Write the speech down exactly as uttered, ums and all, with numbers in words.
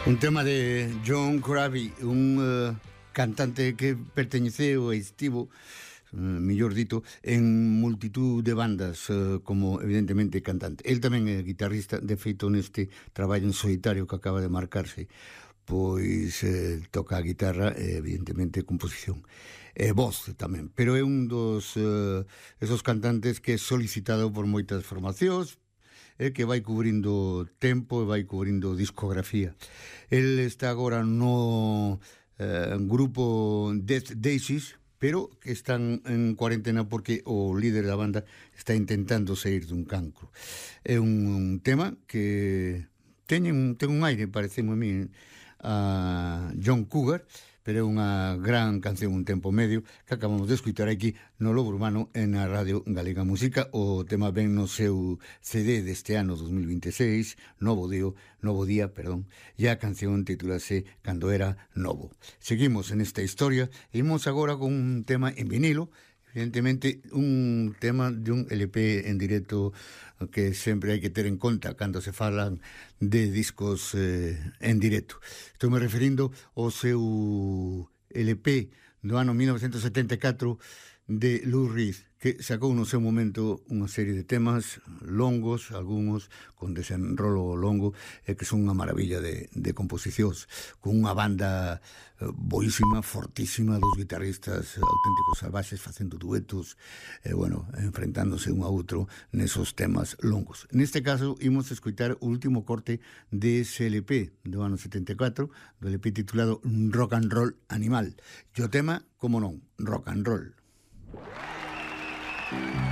Un tema de John Corabi, un uh, cantante que perteñeceu e estivo, uh, mellor dito, en multitud de bandas, uh, como evidentemente cantante. El tamén é guitarrista, de feito neste traballo en solitario que acaba de marcarse, pois eh, toca a guitarra e evidentemente composición e voz tamén, pero é un dos uh, esos cantantes que é solicitado por moitas formacións, eh, que vai cubrindo tempo e vai cubrindo discografía. El está agora no eh, grupo Death Daisies, pero que están en cuarentena porque o líder da banda está intentando sair dun cancro. É un, un tema que teñen, ten un aire, parece a mí, a John Cougar, pero é unha gran canción, un tempo medio, que acabamos de escutar aquí no Lobo Urbano e na Radio Galega Música. O tema ven no seu C D deste ano dos mil vinte e seis, Novo Día, Novo Día, perdón, e a canción titulase Cando era novo. Seguimos en esta historia e imos agora con un tema en vinilo, evidentemente un tema de un L P en directo que sempre hai que ter en conta cando se falan de discos eh, en directo. Estou me referindo ao seu L P do ano mil novecentos setenta e catro de Lou Reed, que sacou no seu momento unha serie de temas longos, algúns con desenrolo longo, e que son unha maravilla de, de composicións, con unha banda eh, boísima, fortísima, dos guitarristas auténticos salvaxes facendo duetos, e, bueno, enfrentándose un a outro nesos temas longos. Neste caso, imos escoitar o último corte dese L P do ano setenta e catro, do L P titulado Rock and Roll Animal. E o tema, como non, rock and roll. Thank you.